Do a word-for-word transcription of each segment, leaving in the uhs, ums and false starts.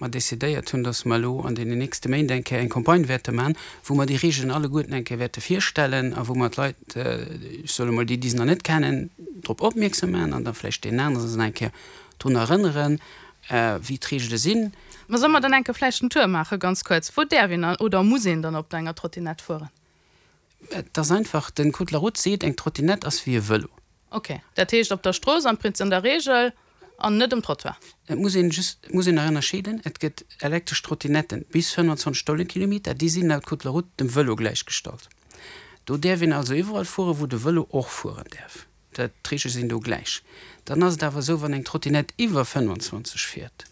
mer decidéiert hunn, dass mer elo an deenen nächste Méint eng Kéier eng Campagne wäerte maachen, wou mer déi Regeln alleguerten eng Kéier wäerte virstellen a wou mer d'Leit, ech soe mol déi, déi se nach net kennen, drop opmierksam maachen an da vläicht deenen anere se eng Kéier drun erënneren, wéi d'Regele sinn. Mä solle mer dann eng Kéier vläicht en Tour maachen, ganz kuerz? Wou däerf een oder muss een dann op enger Trottinett fueren? Et ass einfach, den Code de la route seet, eng Trottinett ass wéi e Vëlo. Ok, dat heescht op der Strooss am Prinzip an der Reegel an net um Trottoir. Et muss een just, et muss een nach ënnerscheeden, et gëtt elektresch Trottinetten bis fënnwanzwanzeg Stonnekilometer, déi sinn laut Code de la route dem Vëlo gläichgestallt. Do däerf een also iwwerall fueren, wou de Vëlo och fueren däerf. Dat, d'Reegele sinn do gläich. Dann ass et awer esou, wann eng Trottinett iwwer fënnwanzwanzeg fiert,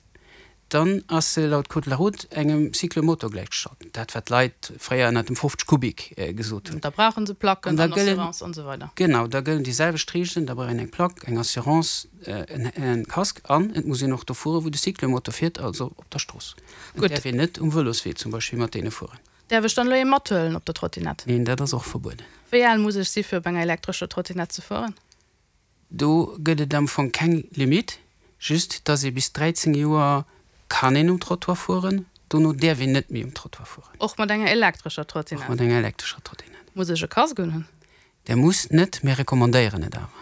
dann ass se laut Code de la route engem Cyclomotor gläichgestallt, dat wat d'Leit fréier ënnert dem fofzeg Kubik gesot hunn. Da brauche se Placken an Assurance an esou weider. Genau, da gëllen déi selwecht Reegelen, da brauch een eng Plack, eng Assurance, en Casque an et muss een och do fueren, wou de Cyclomotor fiert, also op der Strooss. Et däerf een net um Vëloswee zum Beispill mat deene fueren. Däerf ech dann elo ee mathuelen op der Trottinett? Neen, dat ass och verbueden. Wéi al muss ech si fir op enger elektrescher Trottinett ze fueren? Do gëtt et am Fong keng Limitt, just dass ee bis dräizéng Joer kann een um Trottoir fueren, dono däerf een net méi um Trottoir fueren. Och mat enger elektrescher Trottinett? Och mat enger elektrescher Trottinett. Muss ech e Casque unhunn? Der musst net, mir recommandéieren et awer.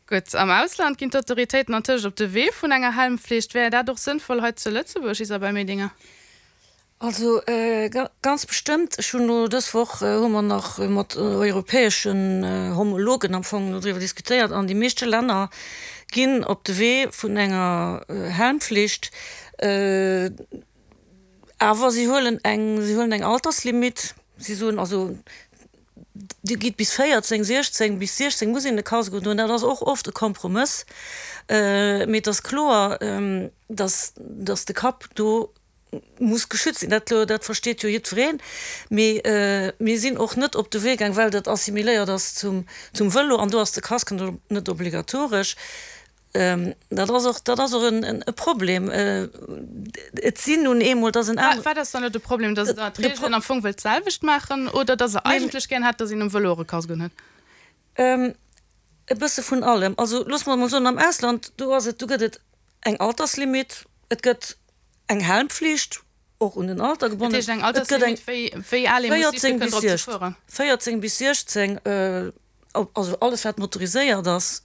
Gutt, am Ausland ginn d'Autoritéiten antëscht op de Wee vun enger Helmflicht. Wär dat och sënnvoll hei zu Lëtzebuerg, Isabelle Medinger? Also ganz bestëmmt. Ech hunn elo dës Woch hu mer nach mat europäeschen Homologen am Fong doriwwer diskutéiert an déi meeschte Länner ginn op de Wee vun enger Helmflicht, awer si huelen eng, si huelen eng Alterslimitt. Si soen also, Dir gitt bis véierzéng, siechzéng, bis siechzéng muss een e Casque undoen. Dat ass och oft e Kompromëss, mee et ass kloer, dass, dass de Kapp do muss geschützt sinn. Dat, dat versteet jo jiddwereen. Mee mir sinn och net op de Wee gaang, well dat assimiléiert ass zum, zum Vëlo an do ass de Casque net obligatoresch. Dat ass och, dat ass och e Problem. Et sinn nun eemol, et ass en aner. Wat ass dann elo de Problem? Datt Der d'Reegelen am Fong wëllt d'selwecht maachen oder datt Der eigentlech gären hätt, datt een um Vëlo och e Casque unhuet? E bësse vun allem. Also loosse mer emol soen, am Ausland, do ass et, do gëtt et eng Alterslimitt, et gëtt eng Helmpflicht, och un den Alter gebonnen. Dat heescht eng Alterslimitt, wéi, wéi al ee muss si fir kënnen drop ze fueren? véierzéng bis siechzéng, also alles wat motoriséiert ass,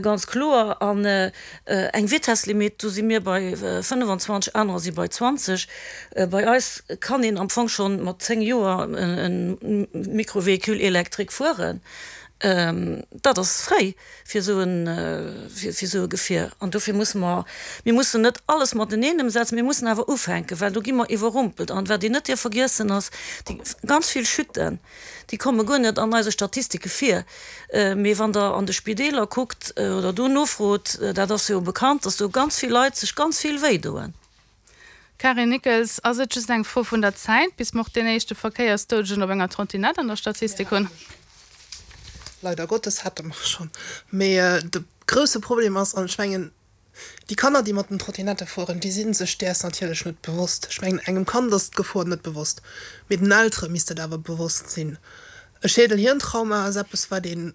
ganz kloer. An eng Vitesslimitt, do si mir bei fënnefenzwanzeg, anerer si bei zwanzeg. Bei eis kann een am Fong scho mat zéng Joer e Micro-véhicule électrique fueren. Dat ass fréi fir esou e, fir esou e Gefier. An dofir musse mer, mir mussen net alles mateneen ëmsetzen, mir mussen awer ufänken, well do gi mer iwwerrumpelt. An wat een net dierf vergiessen ass, déi ganz vill Chuten, déi komme guer net an eise Statistike vir. Mee wann Der an de Spideeler kuckt oder do nofrot, dat ass jo bekannt, dass do ganz vill Leit sech ganz vill wéidoen. Carine Nickels, Ass et just eng Fro vun der Zäit, bis mer och deen éischte Verkéiersdoudegen op enger Trottinett an der Statistik hunn? Leider Gottes hate mer schonn. Mee de grousse Problem ass, an ech mengen, déi Kanner, déi mat den Trottinette fueren, déi si sech däers natierlech net bewosst. Ech mengen, engem Kand ass d'Gefor net bewosst, mee den Eltere misst et awer bewosst sinn. E Schädel-Hirn-Trauma ass eppes, wat een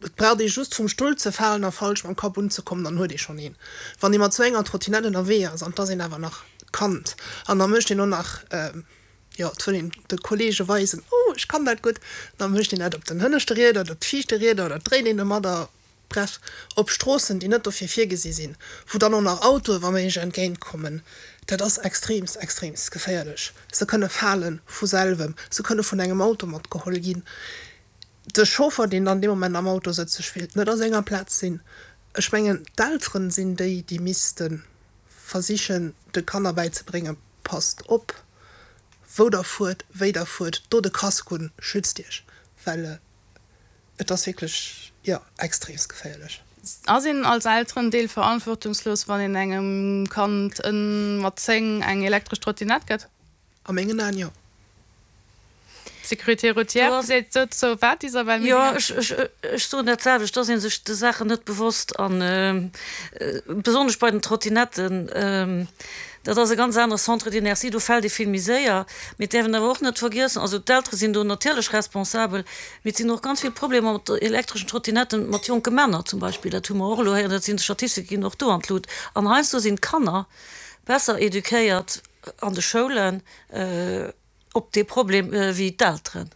Et braucht ee just vum Stull ze falen a falsch mam Kapp unzekommen, dann huet ee schonn een. Wann ee mat sou enger Trottinett ënnerwee ass, an 't ass een awer nach Kand, an da mécht een och nach, jo, et wëll een de Kollege weisen, oh, ech kann dat gutt, da mécht een dat op den hënneschte Rieder oder op d'viischte Rieder oder dréit een domadder, bref, op Stroossen, déi net dofir virgesi sinn, wou dann och nach Autoe wa méiglech entgéint kommen. Dat ass extreemst, extreemst geféierlech. Se kënne fale vu selwem, se kënne vun engem Auto matgeholl ginn. De Chauffer, deen dann dee Moment am Auto sëtzt, sech wéilt net a senger Plaz sinn. Ech mengen, d'Elteren sinn déi, déi misste versichen, de Kanner bäizebréngen, Passt op, wou Der fuert, wéi Der fuert, dot e Casque un, schützt Iech, well et ass wierklech, jo, extreemst geféierlech. Ass een als Elterendeel verantwortungslos, wann een engem Kand mat zéng eng elektresch Trottinett gëtt? A mengen Aen jo. D'Sécurité routière seet dozou wat, Isabelle Jo, Medinger? ech soen dat selwecht, et ass ee sech de Saachen net bewosst a besonnesch bei den Trottinetten, dat ass e ganz anere Centre d'inertie, do fält ee vill méi séier. Mee et däerf een awer och net vergiessen, also d'Eltere sinn do natierlech responsabel, mee et sinn och ganz vill Problemer mat elektreschen Trottinetten mat jonke Männer zum Beispill, dat hu mer och elo héieren, dat sinn, d'Statistike ginn och do an d'Lut an heiansdo sinn d'Kanner besser eduquéiert an de Schoulen op dee Problem wéi d'Elteren.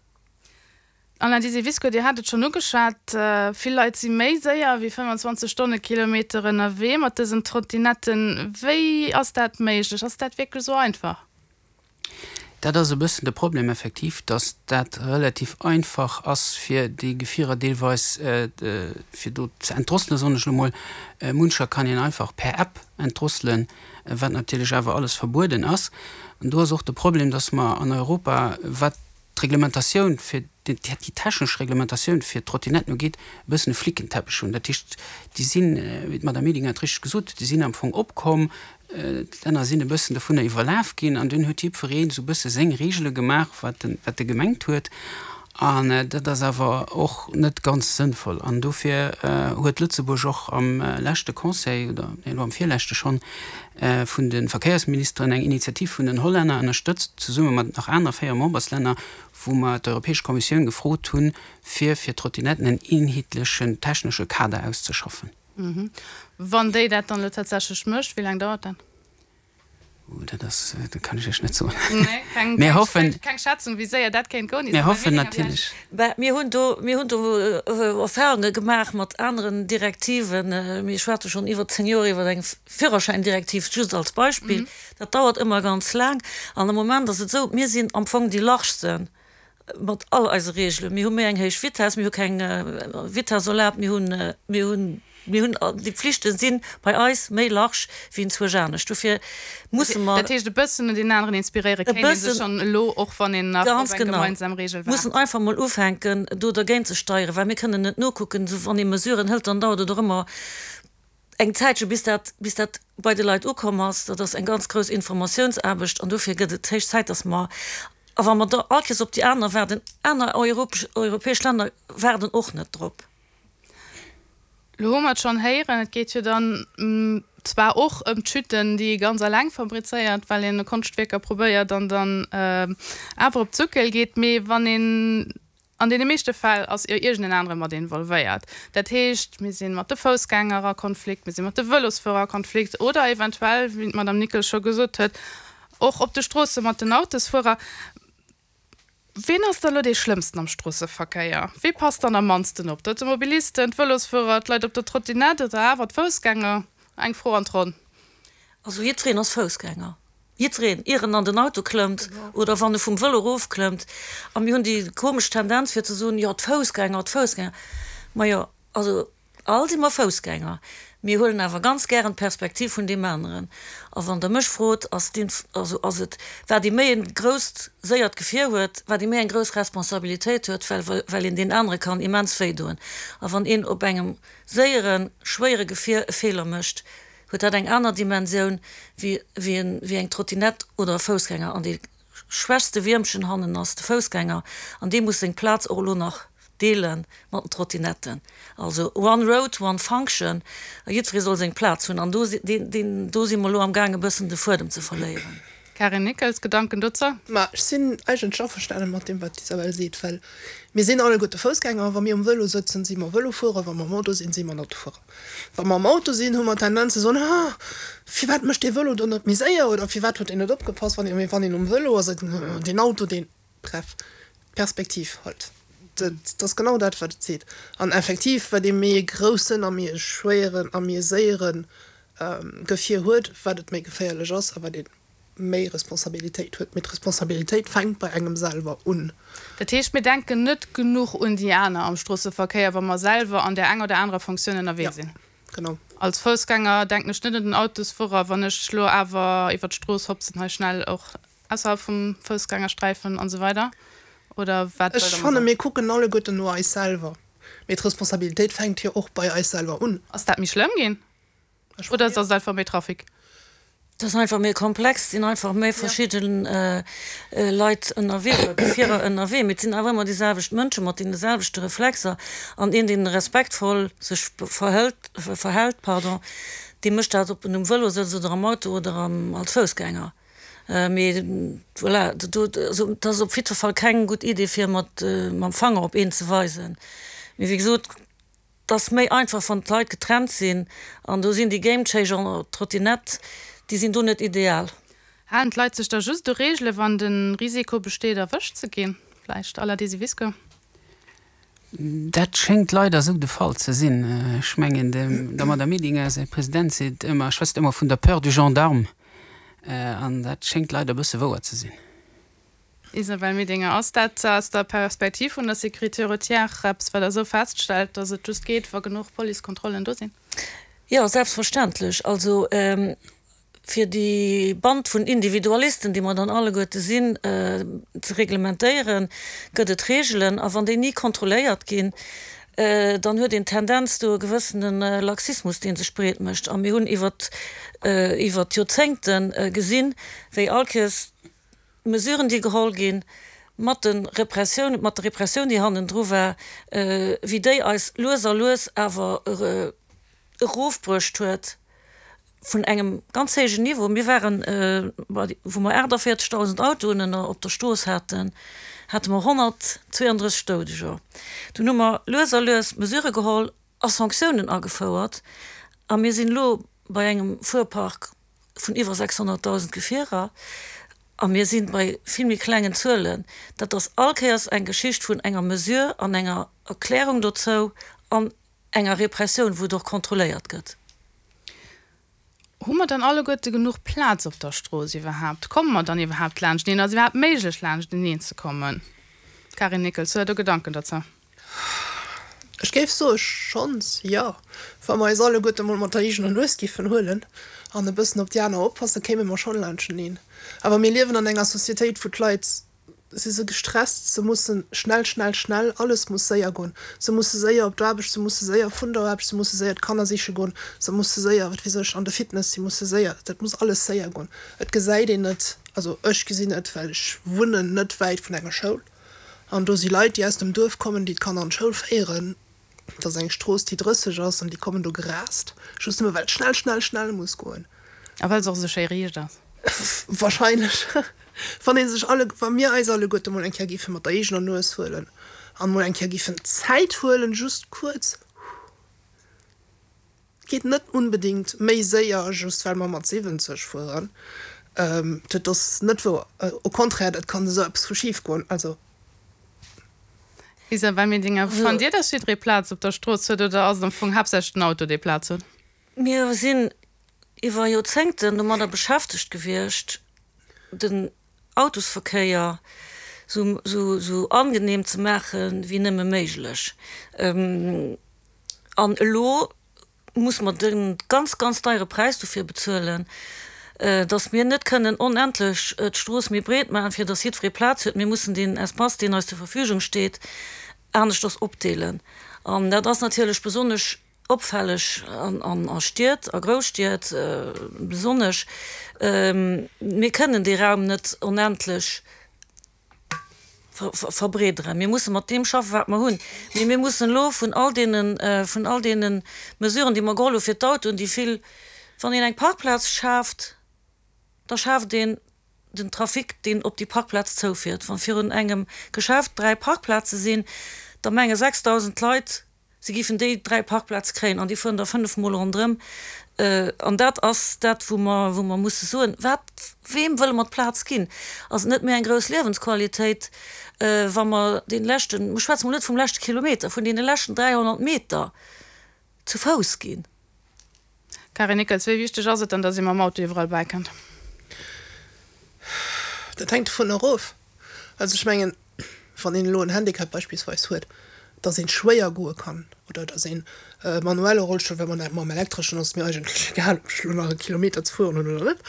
Alain Disivisco, Dir hat et schonn ugeschwat, vill Leit si méi séier wéi fënnwanzwanzeg Stonnekilometer ënnerwee mat dësen Trottinetten. Wéi ass dat méiglech? Ass dat wierklech esou einfach? Dat ass e bëssen de Problem effektiv, dass dat relativ einfach ass, fir déi Gefierer deelweis fir do ze entdrosselen, soen ech elo mol. Muncher kann een einfach per App entdrosselen, wat natierlech awer alles verbueden ass. An do ass och de Problem, dass mer an Europa, wat d'Reglementatioun fir déi technesch Reglementatioun fir d'Trottinetten ugeet, e bëssen e Flickenteppech hunn. Dat heescht, déi sinn, wéi d'Madame Medinger et richteg gesot huet, déi sinn am Fong opkomm, d'Länner sinn e bëssen dovunner iwwerlaf ginn an dunn huet jiddwereen esou e bësse seng Regele gemaach, wat en, wat e gemengt huet. An dat ass awer och net ganz sënnvoll. An dofir huet Lëtzebuerg och am leschte Conseil, oder nee, elo am virleschte schonn, vun de Verkéiersministeren eng Initiativ vun den Hollänner ënnerstëtzt, zesumme mat nach aner véier Memberslänner, wou mer d'Europäesch Kommissioun gefrot hunn, fir fir d'Trottinetten en eenheetlechen technesche Kader auszeschaffen. Wann déi dat dann elo tatsächlech mécht, wéi laang dauert dat? Dat ass, dat kann ech Iech net soen. Nee, keng, Mir hoffen, keng Schätzung, wéi séier dat kéint goen. Mir hoffen natierlech. Bah, mir hunn do, mir hunn do Erfahrunge gemaach mat aneren Direktiven. Mir schwätze schonn iwwer zéng Joer iwwer eng Führerschäindirektiv, just als Beispill. Dat dauert ëmmer ganz laang. An am Moment ass et esou, mir sinn am Fong déi largsten mat all eise Reegelen. Mir hu méi eng héich Vitess, mir hu keng Vitess erlaabt, mir hunn, mir hunn, mir hunn, déi Pflichte si bei eis méi large wéi enzwousch anescht. Dofir musse mer. Dat heescht, e bëssen un deen aneren inspiréiere E kéint ee sech bëssen. schonn elo, och wann een nach op Ganz eng genau. gemeinsam Reegel waart. Mussen einfach mol ufänken, do dergéint ze steieren, well mir kënnen net nokucken. Wann ee Mesuren hëlt, dann dauert et och ëmmer eng Zäitche bis dat, bis dat bei de Leit ukomm ass. Dat ass eng ganz grouss Informatiounsaarbecht an dofir gëtt et héich Zäit, dass mer, a wa mer da all Kéiers op déi aner waarden, aner europäesch Länner waarden och net drop. Lo hu mer et schonn héieren, et geet jo dann zwar och ëm d'Chuten, déi ee ganz eleng fabrizéiert, well een e Konschtwierker probéiert an dann awer op d'Suckel geet, mee wann een, an deene meeschte Fäll ass jo iergend en anere mat involvéiert. Dat heescht, mir si mat de Foussgänger a Konflikt, mir si mat de Vëlosfuerer a Konflikt oder eventuell, wéi d'Madame Nickels scho gesot huet, och op de Stroosse mat den Autosfuerer. Ween ass da lo dee Schlëmmsten am Stroosseverkéier? Wee passt dann am mannsten op? D'Automobilisten, d'Vëlosfuerer, d'Leit op der Trottinett oder awer d'Foussgänger? Eng Fro an d'Ronn. Also jiddwereen ass Foussgänger. Jiddwereen, ier en an den Auto klëmmt oder wann e vum Vëlo erofklëmmt. A mir hunn déi komesch Tendenz fir ze soen, jo d'Foussgänger, d'Foussgänger. Majo, also all si mer Foussgänger. Mir huelen awer ganz gären d'Perspektiv vun deem aneren. A wann Der mech frot, ass deen, also ass et, wat ee méi e grousst, séiert Gefier huet, wat ee méi eng grouss Responsabilitéit huet, well, well een deen anere kann immens wéi doen. A wann een op engem séieren, schwéiere Gefier e Feeler mécht, huet dat eng aner Dimensioun wéi, wéi en, wéi eng Trottinett oder e Foussgänger. An dee schwächste Wiermchen hannen ass de Foussgänger an dee muss seng Plaz och elo nach deele mat den Trottinetten. Also one road, one function a jiddweree soll seng Plaz hunn. An do si, deen, deen, do si mer elo amgaang e bëssen de Fuedem ze verléieren. Karin Nickels, Gedanken dozou? Ma ech sinn eigentlech averstanen mat deem, wat d'Isabelle seet, well mir sinn alleguerte Foussgänger. Wa mir um Vëlo sëtzen, si mer Vëlofuerer, wa mer am Auto sinn, si mer Autofuerer. Wa mer am Auto sinn, hu mer d'Tendenz ze soen, Ah, firwat mécht dee Vëlo do net méi séier oder firwat huet deen net opgepasst? Wann een, wann een um Vëlo ass, seet een, Deen Auto, deen. Bref, d'Perspektiv halt. Dat ass genau dat, wat et seet. An effektiv, wat ee méi e groussen a méi e schwéieren a méi e séiere Gefier huet, wat et méi geféierlech ass a wat ee méi Responsabilitéit huet. Mee d'Responsabilitéit fänkt bei engem selwer un. Dat heescht, mir denken net genuch un déi aner am Stroosseverkéier, wa mer selwer an där enger oder anerer Fonctioun ënnerwee Ja, sinn. genau. Als Foussgänger denken ech net un den Autosfuerer, wann ech elo awer iwwer d'Strooss hopsen, hei schnell och ausserhalb vum Foussgängersträifen an esou weider. Oder wat wëllt Ech Der mer fanne soen? mir kucken alleguerten no eis selwer. Mee d'Responsabilitéit fänkt jo och bei eis selwer un. Ass dat méi schlëmm ginn? Ech Oder ass et einfach méi Trafic? Et ass einfach méi komplex, et sinn einfach méi verschidde Leit ënnerwee oder Gefierer ënnerwee, mee et sinn awer ëmmer déi selwecht Mënsche mat deene selwechte Reflexer. An een, dee respektvoll sech verhëlt, verhält, pardon, dee mécht dat, ob en um Vëlo sëtzt oder am Auto oder als Foussgänger. Mee voilà, do, also et ass op jiddwer Fall keng gutt Idee, fir mat mam Fanger op een ze weisen. Mee wéi gesot, et ass méi einfach, wann d'Leit getrennt sinn. An do sinn déi Gamechanger, d'Trottinett, déi sinn do net ideal. Halen d'Leit sech da just u Reegele wann de Risiko besteet erwëscht ze ginn? Vläicht à la Desivisco? Dat schéngt leider esou de Fall ze sinn. Ech mengen, der Madame Medinger säi President seet ëmmer, schwätzt ëmmer vun der Peur du gendarme. An dat schéngt leider e bësse wouer ze sinn. Isabelle Medinger, Ass dat aus der Perspektiv vun der Sécurité routière eppes, wat Der esou feststellt, datt et just geet, wa genuch Policekontrollen do sinn? Jo, selbstverständlech. Also fir déi Band vun Individualisten, déi mer dann alleguerte sinn, ze reglementéieren, gëtt et Reegelen. A wann déi ni kontrolléiert ginn, dann huet een d'Tendenz do e gewëssene Laxismus, dee sech breet mécht. A mir hunn iwwert iwwert d'Joerzéngte gesinn, wéi all Kéiers d'Mesuren, déi geholl ginn, mat de Repressioun, mat der Repressioun, déi hannendru war, wéi déi eis lues a lues awer erofbruecht huet vun engem ganz héijen Niveau. Mir waren, wou mer aachtavéierzegdausend Autoen ënner op der Strooss haten, hate mer honnertzweeëndrësseg Doudeger. Dunn hu mer lues a lues Mesurë geholl a Sanktiounen agefouert a mir sinn elo bei engem Fuerpark vun iwwer sechshonnertdausend Gefierer a mir si bei vill méi klengen Zuelen. Dat ass all Kéiers eng Geschicht vun enger Mesure an enger Erklärung dozou an enger Repressioun, wou et och kontrolléiert gëtt. Hu mer dann alleguerte genuch Plaz op der Strooss iwwerhaapt? Komme mer dann iwwerhaapt laanschteneen? Ass et iwwerhaapt méiglech, laanschteneen ze kommen? Karin Nichols, hutt Der do Gedanken dozou? Ech géif soe schonns, jo. Wa mer eis alleguerte mol mat der eegener Nues géifen huelen an e bëssen op déi aner oppassen, kéime mer schonn laanschteneen. Awer mir liewen an enger Societéit, wou d'Leit si se gestresst, se mussen schnell, schnell, schnell, alles muss séier goen, se musse séier op d'Aarbecht, se musse séier vun der Aarbecht, se musse séier d'Kanner siche goen, se musse séier, wat weess ech, an de Fitness, si musse séier, dat muss alles séier goen. Et gesäit een et, also ech gesinn et, well ech wunnen net wäit vun enger Schoul an do si Leit, déi aus dem Duerf kommen, déi d'Kanner an d'Schoul féieren. Et ass eng Strooss, déi drësseg ass an déi kommen do gerast, just nëmme well et schnell, schnell, schnell muss goen. A well se och esou schéi riicht ass. Wahrscheinlech. Wann ee sech alle, wa mir eis alleguerte mol eng Kéier géife mat der eegener Nues huelen an mol eng Kéier géifen Zäit huelen, just kuerz, geet net unbedingt méi séier, just well mer mat siwwenzeg fueren. Dat ass net wouer. Au contraire, dat kann esou eppes vu schif goen. Also. Isabelle Medinger, Fannt Dir, dass jidderee Plaz op der Strooss huet oder ass et am Fong haaptsächlech den Auto, dee Plaz huet? Mir sinn iwwer Joerzéngten domadder beschäftegt gewiescht, den Autosverkéier sou angenehm ze maache wéi nëmme méiglech. An elo musse mer de ganz, ganz deiere Präis dofir bezuelen, datt mir net kënnen onendlech d'Strooss méi breet maachen, fir datt jiddweree Plaz huet. Mir mussen deen Espace, deen eis zur Verfügung steet, aneschters opdeelen. An dat ass natierlech besonnesch opfälleg an a Stied, a Grousstied besonnesch. Mir kënnen dee Raum net onendlech verbreederen. Mir musse mat deem schaffen, wat mer hunn. Mee mir mussen elo vun all deene, vun all deene Mesuren, déi mer geholl hu fir d'Autoen, déi vill, wann een eng Parkplaz schaaft, da schaaft een den Trafic, deen op déi Parkplaz zoufiert. Wa virun engem Geschäft dräi Parkplaze sinn, da menge sechsdausend Leit, se géifen déi dräi Parkplaze kréien an déi fueren da fënnef Mol ronderëm. An dat ass dat, wou mer, wou mer musse soen, Wat, weem wëlle mer d'Plaz ginn? Ass et net méi eng grouss Liewensqualitéit, wa mer dee leschten, ech schwätze mol net vum leschte Kilometer, vun deene leschten dräihonnert Meter zu Fouss ginn? Karin Nickels, Wéi wichteg ass et dann, datt ee mam Auto iwwerall bäikënnt? Dat hänkt dovunner erof. Also ech mengen, wann een elo en Handicap beispillsweis huet, datt een schwéier goe kann oder datt een e manuelle Rollstull, well mam mam elektreschen ass et mir eigentlech egal, ob ech elo nach e Kilometer ze fueren hunn oder net,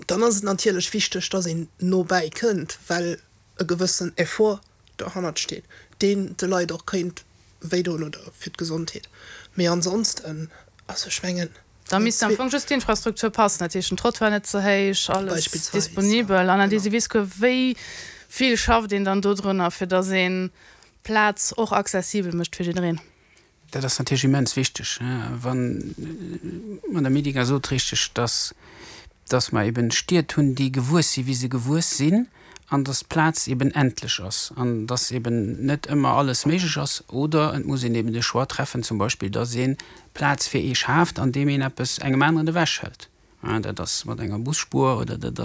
dann ass et natierlech wichteg, datt een no bäi kënnt, well e gewëssen Effort dohannert steet, deen de Leit och kéint wéidoen oder fir d'Gesondheet. Mee ansonsten, also ech mengen, Da misst am Fong just d'Infrastruktur passen, dat heescht den Trottoir net ze héich, alles disponibel. An Adesi Visco, wéi vill schafft een dann dodrunner, fir datt een d'Plaz och accessibel mécht fir jiddereen? Dat ass natierlech immens wichteg. Wann, d'Madame Medinger sot richteg, datt datt mer eben Stied hunn, déi gewuess sinn, wéi se gewuess sinn, an datt d'Plaz eben endlech ass an datt eben net ëmmer alles méiglech ass, oder et muss een eben de Choix treffen, zum Beispill, datt ee Plaz fir ee schaaft, andeem een eppes engem aneren ewechhëlt. Dat ass mat enger Busspuer oder dat